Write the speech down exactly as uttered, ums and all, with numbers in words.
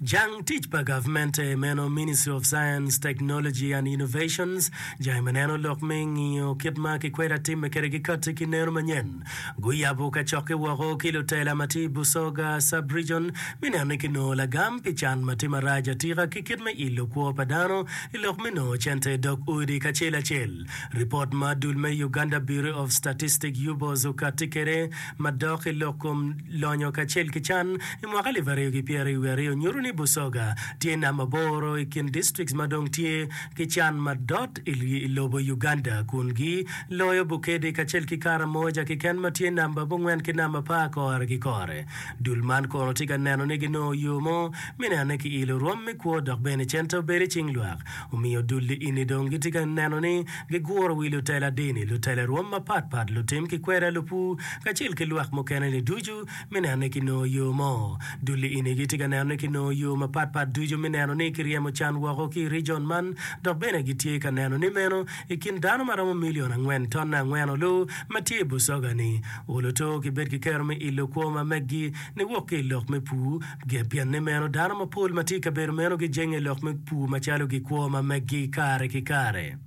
Jang tic pa gavmente meno Ministry of Science, Technology and Innovations jange ma neno lok me ngiyo kit ma kikweda timme kwede ki kati ki neno manyen. Guyabo kacokke woko ki lutela ma tye i Busoga Sub-Region me neno ni kinongo lagam pi can ma tye marac atika ki kit me ilo kwo pa dano i lok me nongo cente i dog odi kacel acel. Ripot ma dul me Uganda Bureau of Statistics, UBOS, okatti kwede madok i lok kom lonyo kacel ki can i mwaka alip aryo ki pyeraryo wiye aryo nyuto ni Busoga tye namba aboro i kin districts ma dong tye ki can madot i lobo Uganda kun giloyo Bukedi kacel ki Karamoja keken ma tye namba abongwen ki namba apar kore ki kore. Dul man kono tye ka neno ni ginongo yo mo me neno ni kiilo rwom me kwo dok bene cente obedo i cing lwak. Omiyo dul-li eni dong gitye ka neno ni giguro wi lutela dini, lutela rwom mapat pat, lutim ki kweda, lupur, kacel ki lwak mukene-ni ducu me neno ni kinongo yo mo. Dul-li eni gitye ka neno ni kinongo yo mapat pat ducu me neno ni kiryemo can woko ki i rijon man dok bene gitye ka neno ni meno i kin dano ma romo milion angwen tonne angwen olu ma tye i Busoga-ni olo to gibed ki kero me ilo kwo ma meggi niwok ki i lok me pur pien ni meno dano mapol ma tye i kabedo meno gijenge i lok me pur macalo gikwo ma meggi kare ki kare.